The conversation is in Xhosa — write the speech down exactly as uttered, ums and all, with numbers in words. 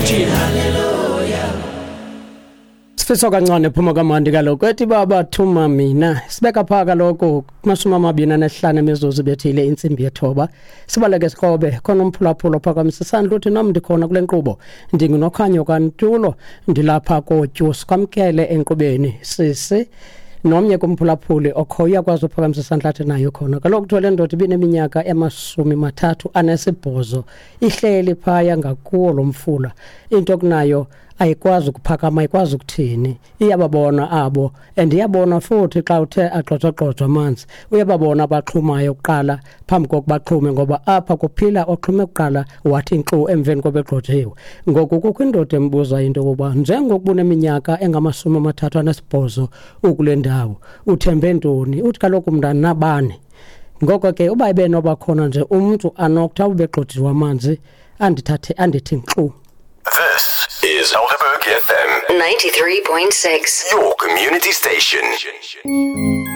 Uthini? Sifiso kancane phuma kamandi kaloku ethi baba thuma mina. Sibeka pha kaloku kumashumi amabini anesihlanu emizuzu bethile intsimbi yethoba. Sibaleke sikrobe khona umphulaphula ophakamisa isandla uthi nam ndikhona kule nkqubo, ndinguNokhanyo kaNtulo, ndilapha koTyusi. Kwamkele enkqubeni sisi. Nomnye kumphulaphuli okhoyo uyakwazi uphakamisa isandla athi nayo khona. Kaloku kuthiwa le ndoda ibineminyaka emashumi mathathu anesibhozo ihleli phaya ngakuwo lo mfula, into kunayo ayikwazi ukuphakama, ayikwazi ukuthini. Iyababona abo and iyabona futhi xa uthe agxojagxojwa amanzi, uyababona abaxhumayo kuqala phambi kokuba baxhume, ngoba apha kuphila oxhume kuqala wathi nkxu emveni koba egxojiwe. Ngoku kukho indoda embuza into yokokuba njengokuba uneminyaka engamashumi amathathu anesibhozo ukule ndawo uthembe ntoni? Uthi kaloku mna nabani. Ngoko ke uba ebenoba khona nje umntu anokuthi awube egxojiwe amanzi andithathe andithi nkxu. This is Helderberg F M ninety-three point six, your community station.